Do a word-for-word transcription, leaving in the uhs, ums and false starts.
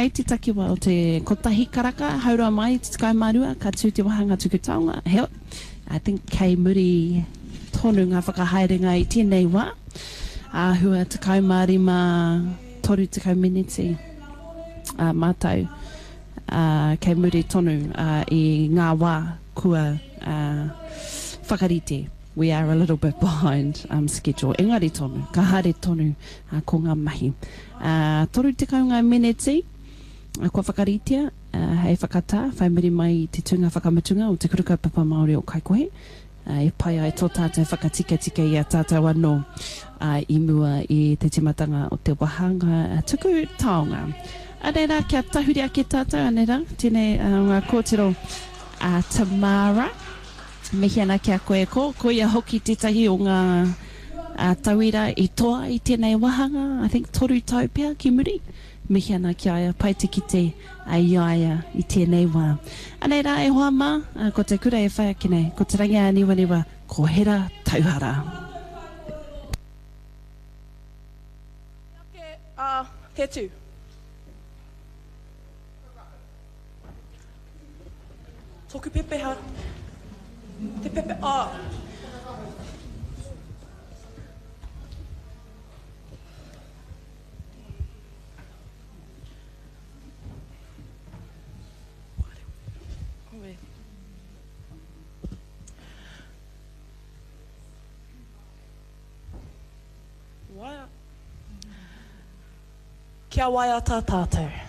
Kei te takiwā o te kotahi karaka, haurua mai te tekau mā rua, ka tū te wāhanga tuku taonga. Heoi, I think kei muri tonu ngā whakahaerenga i tēnei wā, āhua tekau mā rima, toru tekau meneti ā mātou, ā, kei muri tonu i ngā wā kua whakarite. We are a little bit behind um schedule, engari tonu, ka haere tonu ko ngā mahi. Ā, toru tekau ngā meneti kua whakaritea hei whakatā, whai muri mai i te tūnga whakamutunga o Te Kura Kaupapa Māori o Kaikohe, e pai ai tō tātou whakatikatika i a tātou anō i mua i te tīmatanga o te wāhanga tuku taonga. Anei rā, kia tahuri ake tātou, anei rā, tēnei ngā kōtiro a Tamara. Mihi ana ki a koe, ko, koia hoki tētahi o ngā tauira i toa i tēnei wāhanga, I think toru tau pea ki muri. Mihi ana ki a ia, pai te kite i a ia i tēnei wā. Anei rā e hoa mā, ko te kura e whai ake nei, ko Te Rangiāniwaniwa, ko Hera Tauhara. Ake a Whetū. Toku pepeha. Te pepe ah. Kia waiata tātou.